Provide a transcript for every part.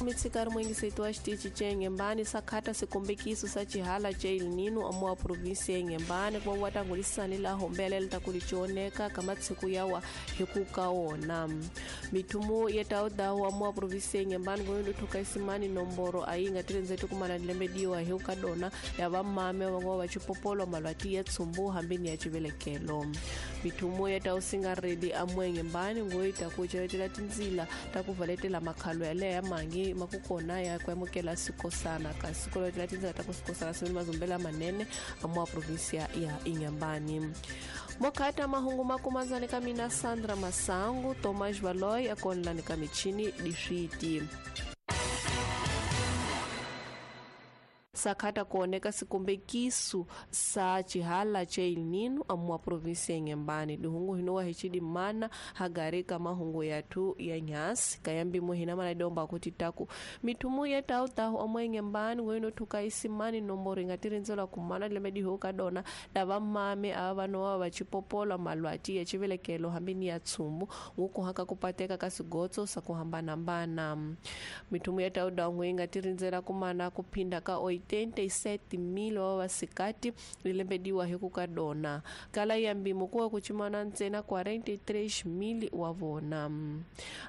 Mitshikari muingiseti wa xitichi ce Inhambane sakhata sikombekiso sa xihala ce El Nino amuwa provinsi ya Inhambane kuva wa tangulisani la hombelela ta kuli cioneka ka matshiku yawa hi ku ka wona. Mithumu ya tawudawu amuwa provinsi ya Inhambane ngoyindu thuka isimani nomboro a yi nga tirindzeti kumana dilembediwa hi ku ka dona ya vamame va ngo va xipopolo malwati ya tsumbu hambini ya xivelekelo. Mithumu ya tawusingareli amuwa Inhambane ngoyi ta ku celetela tindzila ta ku valetela makhalo yaleya ya mangi makukona ya ku amukela sikosana kasi ku letela tindzila ta ku sikosana siveni mazumbela manene amuwa provinsia ya Inhambane. Mokhata mahungu makumanzani ka mina Sandra Masangu, Thomas Valoy akonlani ka michini diswiti. Sakhata kuoneka sikombekiso sa xihala ce El Nino amuwa provinsi ya Inhambane. Dihungu hinowa hi mana hagari ka mahungu yathu ya nyasi kayambimo hina mana kuti taku mithumu ya tawutawu amuwa Inhambane ngoyino thuka isimani nomboro inga tirindzelwa kumana lembe diho ka dona lava mame ava vanowa va xipopola malwati ya xivelekelo hambi ni ya tsumbu ngukuhaka kupateka ka swigotso swa ku hambanahambana. Mithumu ya tawudawu yi nga tirindzela kumana kuphinda ka 87,000 wa vasikati rilembediwa hi ku ka dona kala ya mbimo kuwa ku cimana ntsena 43,000 wa vona.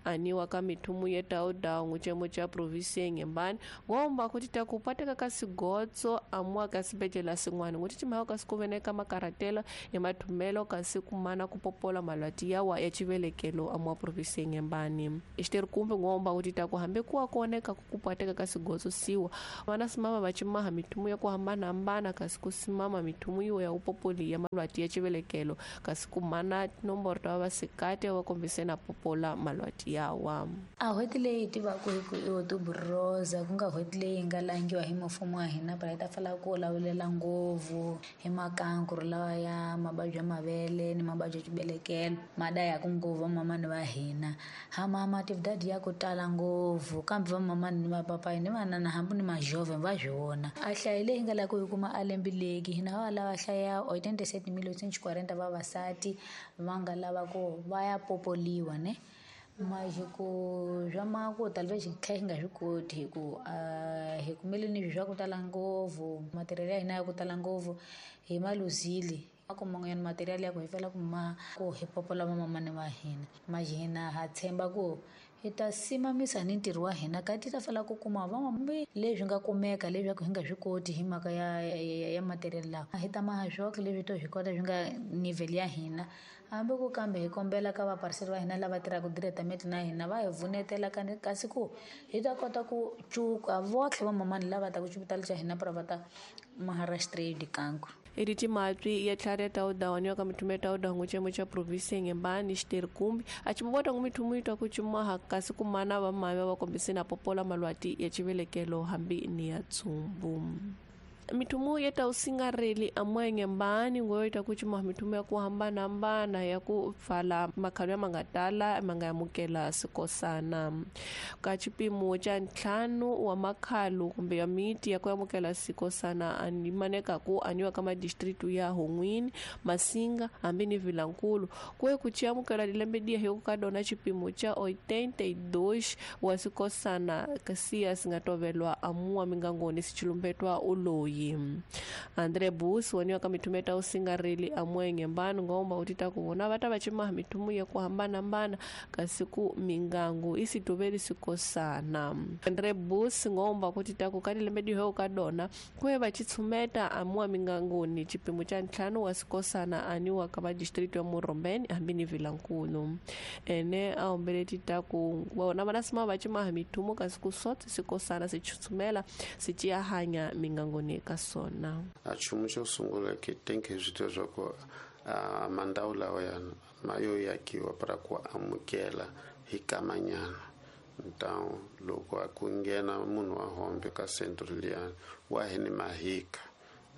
Aniwa ka mithumu ya tawudawu cemo ca provinsi ya Inhambane ngomba kuti ta kupateka ka sigotso amuwa ka sibedlela sin'wana nguti cimhayo kasi ku veneka makaratelo ya mathumelo kasi kumana ku popola malwati yawa ya xivelekelo amuwa provinsi ya Inhambane. Xiteri kumbe ngomba kuti ta ku hambi kuwa kuoneka ku kupateka ka sigotso siwa vana simama va cimaha mithumu ya ku hambanahambana kasi ku simama mithumu yiwo ya upopoli ya malwati ya xivelekelo kasi kumana tinomboro ta vasikati va kombise na popola malwati yawa. A n'hweti leyi hi tivaka hi ku i Otubroza ku nga n'hweti leyi nga langiwa hi mfumo wa hina para hi ta fala ku lawulela ngopfu hi makankuru lawa ya mavabyi ya mavele ni mavabyi ya xibelekelo ma dayaka ngopfu vamamani va hina. Hamama tividadi ya ku tala ngopfu kambe vamamani ni vapapayi ni vanana hambi ni majove va swi vona. A hlayo leyi nga lava ku yi kuma a lembileki hina va lava hlaya 87,840 vavasati va nga lava ku va ya popoliwa ne. Majiku swa maku talve xi tlhela xi nga swi koti hi ku hi kumele ni swa ku tala ngopfu material ya hina ya ku tala ngopfu hi maluzili a ku man'wanyana material ya ku hi fela ku ma ku hi popola vamamani va hina. Majina ha tshemba ku hi ta simamisa ni ntirho wa hina kati ta fela ku kuma van'wambi leswi nga kumeka leswaku hi nga swi koti hi mhaka ya material lawa. Hi ta maha swoxe leswi to swi kota swi nga nivel ya hina. Hambi ku kambe hi kombela ka vapariseri va hina lava tirhaka directamente na hina va hi vunetela kasi ku hi ta kota ku cuka votlhe vamamani lava taka xipitali xa hina para va ta Maharashtra dikanku. Editi matwi ya tlhari ya tawudawu ka mithumu ya tawudawu cemo ca provinsi ya Inhambane xiteri kumbi a cimuvota ngu mithumu yi twa ku cimaha kasi kumana vamame va kombise na popola malwati ya xivelekelo hambi ni ya tsumbu. Mithumu ya tawusingareli amuwa Inhambane ngoyo ta ku cimaha mithumu ya ku hambanahambana ya ku pfala makhalo ya manga tala ma nga amukela sikosana. Ka xipimo xa ntlhanu wa makhalo kumbe ya miti ya ku amukela sikosana ani maneka ku aniwa ka madistritu ya Hon'wini, Masinga hambi ni Vilankulu kuye ku ci amukela dilembe diya hi ku ka dona xipimo xa 82 wa sikosana kasi ya singa tovelwa amuwa mingangoni sichilumbetwa uloyi. Andre Bus waniwa ka mithumu ya tawusingareli amuwa Inhambane ngomba kuti ta ku vona va ta va cimaha mithumu ya ku hambanahambana kasi ku mingangu i sitoveli sikosana. Andre Bus ngomba kuti ta ku ka dilembe diho ka dona kuye va tshumeta amuwa minganguni xipimo xa ntlhanu wa sikosana aniwa ka madistritu ya Murombeni hambi ni Vilankulu. Ene a hombeleti ta ku vona vana sima va cimaha mithumu kasi ku sotse sikosana si tshumela si ciya hanya minganguni ka sona. A nchumu xo sungula ke think hi swi tiva swa ku mandhawu lawa yana ma yo yakiwa para ku amukela hi kamanyana. Então loko a ku nghena munhu wa hombe ka centro liyani wa hi ni mahika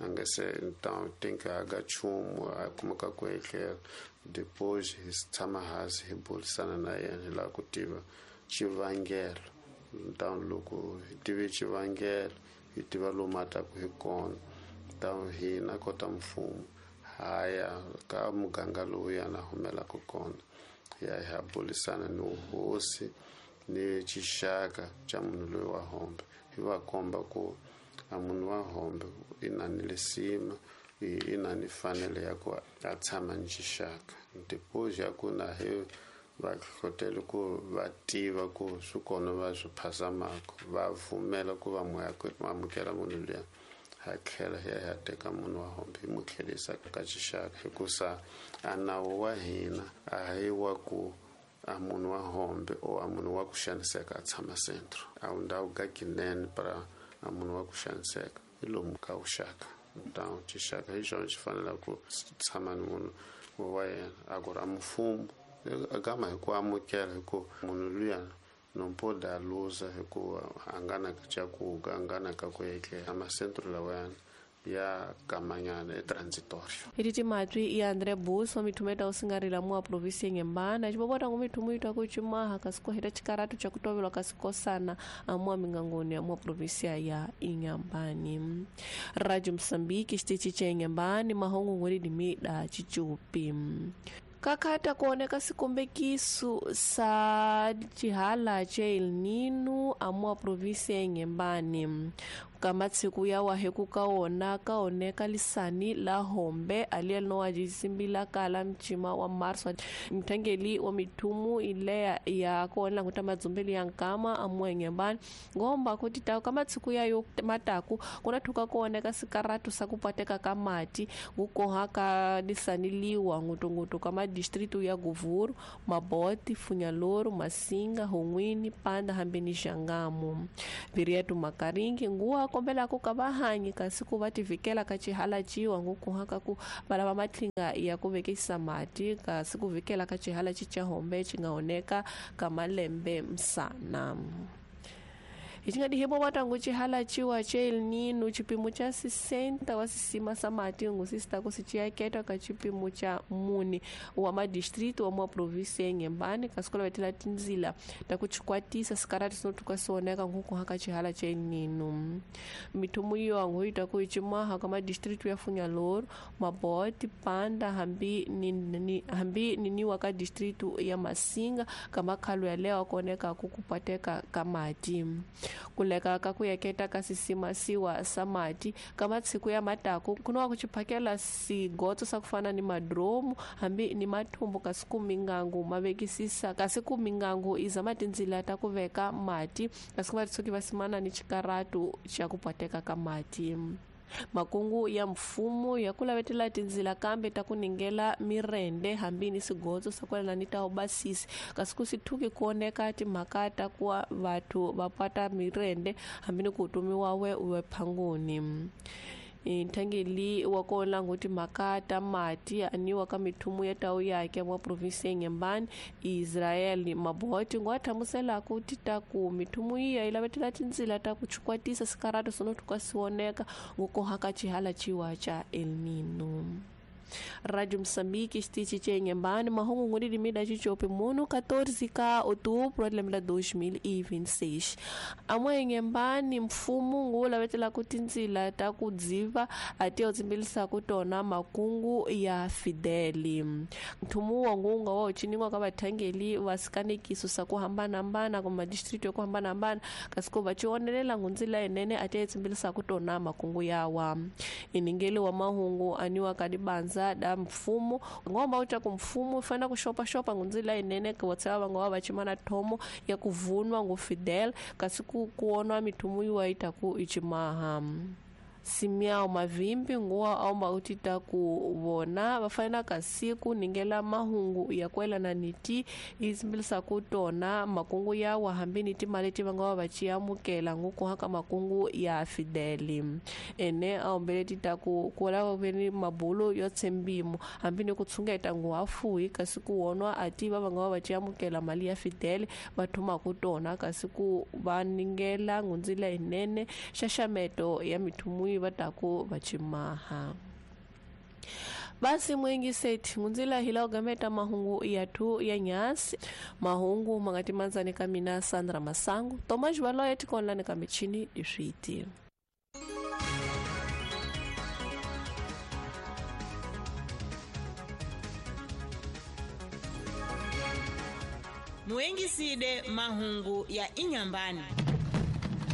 a nga se então think a ga nchumu a kumeka ku ehlela depois hi tshama hansi hi burisana na yena hi lava ku tiva xivangelo. Então loko hi tive xivangelo hi tiva lomu a taka hi kona. Então hina kota mfumo haya ka muganga lowu yana humelaka kona hi ya hi ya burisana ni hosi ni xixaka xa munhu loyi wa hombe hi va komba ku a munhu wa hombe i na ni lisima i na ni fanele ya ku a tshama ni xixaka depois ya ku na hi va hlohlotela ku va tiva ku swi kona va swi phasamaka va pfumela ku va amukela munhu luya ha tlhela hi ya hi ya teka munhu wa hombe hi mu tlherisa ka xixaka hikusa a nawu wa hina a hi wa ku a munhu wa hombe o a munhu wa ku xaniseka a tshama centro a wu ndhawu ka kinene para a munhu wa ku xaniseka hi lomu ka vuxaka então xixaka hi xona xi fanele ku tshama ni munhu wa yena a ku ri a mfumo gama hi ku amukela hi ku munhu luya no pode a luza hi ku a nga na cakuga a nga na ka ku etlela macentro lawayana ya kamanyana e transitorio Ititi matwi ya André Buso mithumeta usingarila mua província Inhambane xivovota ngu mithumu itwa ku cimaha kasi ku heta xikaratu xa ku tovelwa kasi kosana amua mingangoni ya mua província ya Inhambane. Rádio Moçambique xitichi cha Inhambane mahungu ngweri dimida chichupi kakhata kuoneka sikombekiso sa xihala xa El Nino amua província ya Inhambane kamatsiku ya wahe ku ka wona ka oneka lisani la hombe aliya linowa jisimbila kala mchima wa marso mthangeli wa mithumu ileya ya kuonela nkuta madzumbeli ya nkama amua Inhambane ngomba kuti ta kamatsiku yayo mataku kuna thuka kuoneka sikaratu sa kupateka ka mati ngukoha ka lisani liwa ngutungutu ka madistritu ya Govuro, Mabote, Funhalouro, Massinga, Ronguini, Panda hambi ni Xangamu. Viriato Makaringi nguwa kombela ku ka vahanyi kasi ku va tivikela ka xihala ciwa ngukuha ka ku va lava matlinga ya ku vekisa mati kasi ku vikela ka xihala ci xa hombe xi nga oneka ka malembe msana. Hi nga dihibo watangu xihala ciwa xa El Nino xipimo xa 60 wa sisima sa mati ngusista ku siciyaketa ka xipimo xa mune wa madistrito wa mua província ya Inhambane kasi ku lavetela tindzila ta ku chikwatisa sikarati sinotuka sioneka nkukuha ka xihala xa El Nino. Mithumu iyo angu yi ta ku cimaha ka madistrito ya Funhalouro, Mabote, Panda hambi hambi niniwa ka distrito ya Massinga ka makhalo yaleyo kuoneka ku kupateka ka mati. Kuleka ka ku yaketa ka sisimasiwa sa mati ka matsiku ya mataku kunowa ku xiphakela sigotso sa ku fana ni madromu hambi ni mathumbu kasi ku mingangu ma vekisisa kasi ku mingangu iza matindzila ta ku veka mati kasi ku va tshuki va simana ni xikaratu xa ku pateka ka mati. Makungu ya mfumo ya ku lavetela tindzila kambe ta ku ningela mirende hambi ni sigotso sa kwalana ni ta ubasisi kasi ku sithuki kuoneka timhaka ta ku vathu va pata mirende hambi ni ku tumiwa we we phanguni. Nthangeli wa kona nguti timhaka ta mati aniwa ka mithumu ya tawu yake wa provinsi ya Inhambane Israel Mabote ngwa thamusela ku ti ta ku mithumu iya yi lavetela tindzila ta ku chikwatisa sikaratu sonotuka sioneka ngukoha ka xihala ciwa xa El Nino. Rádio Moçambique xitichi xa Inhambane mahungu ngudi dimida xichopi munu 14 ka outubro de 2026. Amwe Inhambane mfumo ngu lavetela ku tindzila ta ku dziva ati yo tsimbilisa ku tona makungu ya Fideli. Nthumu wa ngunga wa uchiniwa ka vathangeli va sikanekiso sa ku hambanahambana kuma district ya ku hambanahambana kasi ku va cionelela ngundzila yinene ati yo tsimbilisa ku tona makungu yawa. Iningeli wa mahungu aniwa ka dibanza da mfumo ngomba uta ku mfumo fana ku xopaxopa ngundzila yinene ku vatsava va nga va va cimana thomo ya ku vunwa ngu Fidel kasi ku kuonwa mithumu yiwa yi ta ku icimaha. Simiao Mavimbi nguwa aomba uti ta ku vona va fanela kasi ku ningela mahungu ya kwelana ni ti izimbilisa ku tona makungu yawa hambi ni timali leti va nga va va ci amukela ngukuha ka makungu ya Fideli. Ene a ombele ti ta ku lava ve ni mabulo yo tshembimo hambi ni ku tshungeta nguhafuhi kasi ku wonwa a tiva va nga va va ci amukela mali ya Fideli va thuma ku tona kasi ku va ningela ngundzila yinene xaxameto ya mithumu va ta ku va cimaha. Basi mwengi seti ngundzila hila ugameta mahungu ya tu ya nyasi mahungu mangati manzani ka mina Sandra Masangu Tomas Valoya tikonlani ka michini diswiti. Muengiside mahungu ya Inyambani.